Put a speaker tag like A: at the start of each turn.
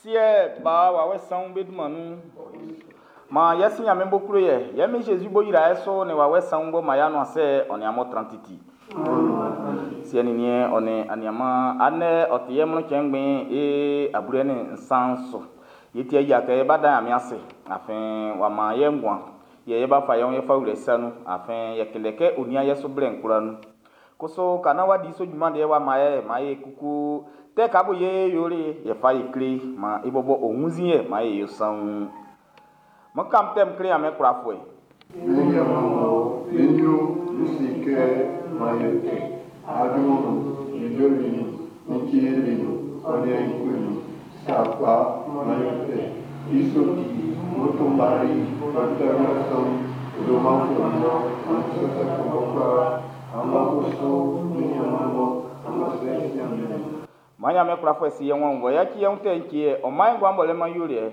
A: Siɛ, Ba, Wawɛ Sanwun be dunman nun. Maan yɛ Si Nyanmiɛn b'ɔ klo ye, yɛ Min Jésus b'ɔ yra ye su nin Wawɛ Sanwun b'ɔ man y'a nuan sɛ ɔ nin amun tran titi. Siɛ nin niɛn ɔ nin aniaanman, andɛ ɔ ti yɛ mlɔn cɛn ngbɛn e ablɛ nin nsan su. Ye ti yia kɛ ye ba dan Nyanmiɛn ase, afin w'a man ye nguan. Yɛ ye ba fa yɛ ye fa wlɛ i sa nun, afin yɛ kele kɛ o nian yɛ su blɛ'n kwlaa nun. Kusu ka naan w'a di so junman deɛ w'a man ye, man ye kuku tɛ ka bo ye yoli yɛ fa ye kle, man i bɔbɔ o wunnzin yɛ man ye yo saun. Mo kam tɛm kle ame kurafoe.
B: Mi yamamo, mi nyu, mi sike, mayete, adunu, ijolini, mikielinu, onyenkuni, sapa, mayete, isoti, motombari, mantayasan, odomafono, ansasakobokwa, amakoso, mi yamamo, amasɛsiamene.
A: Ma nyame kurafoe si yɛ wɔn wɔ ya ki yɛn tɛ nkie, ɔman guan bɔlɛ man yoli yɛ.